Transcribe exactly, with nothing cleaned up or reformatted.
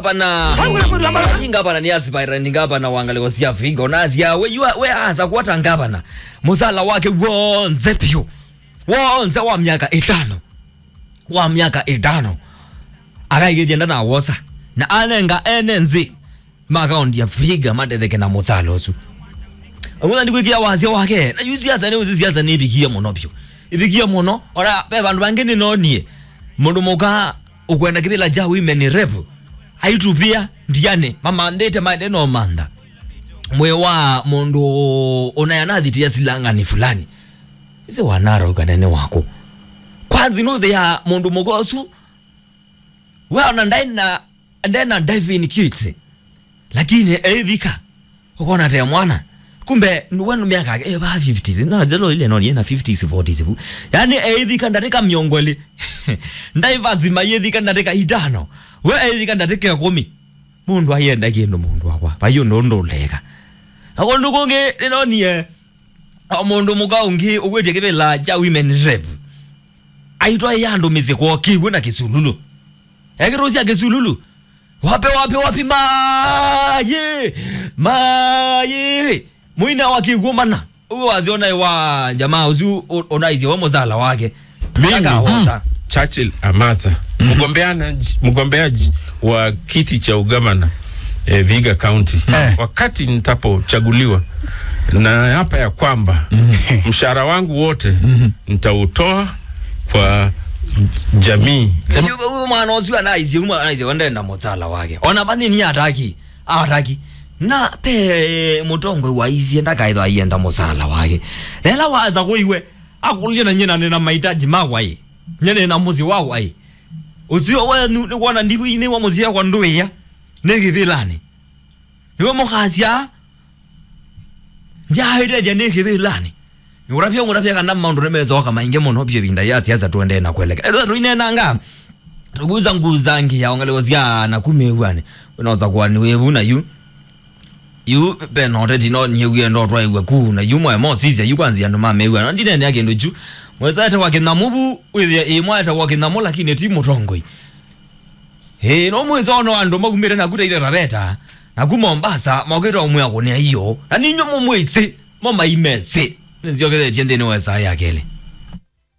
Ngavana, ngavana nĩ aspirant ngavana wa ngalĩko sya Vihiga. Ona asya we, you are, we asa kuota ngavana. Mũsala wake w'onthe vyũ. W'onthe wa myaka ĩtano. Wa myaka ĩtano. Akaigĩthya ndanawosa. Na anenga ene nzĩ ma kaunti ya Vihiga matetheke na mũsala ũsu. Ũguo ndikwĩkĩa wasya wake. Na yu siasa nĩ ũsi siasa nĩ ĩvikie mũno vyũ. Ĩvikie mũno. Ona ve vandũ vangĩ nĩnonie. Mũndũ mũka ũkwenda kĩvĩla kya women rep. Aitupia ndiane, mamandĩte maende no mantha. Mwĩ wa mũndũ ũnayanathĩtĩa silangani fulani. Ĩsĩ wanarauka nene waku. Kwanzi nũthĩa mũndũ mũka ũsu. We ona ndaĩ na, ndaĩ na diving kits. Lakini eĩthika. Ũkona te mwana. Kumbe, we nĩ myaka yake, eh, va fifties. Na zelo ile no, yena fifties, forties vu. Yani, eĩthika ndatĩka mĩongo ĩlĩ. Divers mayĩthika ndatĩka itano. We eĩthika ndatĩka ĩkũmi. Mũndũ ayenda kĩndũ mũndũ wakwa. Vai ũndũ ũndũ ũleka. Na kũndũ kũngĩ, nĩnonie, o mũndũ mũka ũngĩ ũkwĩtye kĩvĩla kya women rep. Aitwaĩa andũ mĩsyĩ kwoo kĩw'ũ na kĩsululu. Ekĩtũsya kĩsululu. Wapi, wapi, wapi, mayi? Mayi. Mũina wa kĩw'ũ mana. Ũguo waziona wa jamaa ũsu u-, ũnaisye we mũsala wake. Mimi, akawosa. Churchill Amatha, mgombeanaji-, mgombeaji wa kiti cha ugavana, eh, Vihiga County. Eh. Wakati nitapochaguliwa, na hapa ya kwamba mshahara wangu wote nitautoa kwa jamii. Sema- Ũyũ mwana ũsu anaisye, ũmwe anaisye, wende na mũsala wake. Ona vanini ataki, ataki. Na pe mũtongoi waisye ndakaĩthwa aienda mũsala wake. Na ĩla waza kũiwe, akũlye na nyina nĩna mahitaji makwa ĩ. Nyina nĩna mũsyĩ wakwa ĩ. Ũsio wenyu nĩ kwona ndiku inĩ wa mũsyĩ wakwa ndũĩa. Nĩ kĩvĩlanĩ. Nĩwe mũkasya, ndyaĩtethya nĩ kĩvĩlanĩ. Ngũtavya, ngũtavya kana maũndũ nĩmesoka maingĩ mũno vyũ ĩvinda ya siasa tũendee na kweleka. Ethwa tũineenanga, tũkuza nguza ngĩ ya ongeleko sya na kumĩw'anĩ. Wĩnosa kwa nĩ wĩvu na yu. Yu, ve na ũteti no niĩ wĩenda ũtwaĩwe ku, na yu mwae mosisya, yu kwanzia andũ mamĩw'a. Na ndineenea kĩndũ kyu. Mwĩsa etawa Kĩnyamũ vu, wĩthĩa ĩ mwae etawa Kĩnyamũ, lakini ti mũtongoi. Ĩĩ, no mwĩsa ona andũ maumĩte naku Taita Taveta, naku Mombasa, mokĩte ũmwĩa kũnĩa iyo. Na ninyo mũmwĩsĩ, mo maimesĩ. Nĩnzyokethetye nthĩnĩ wa ĩsaa ya kelĩ.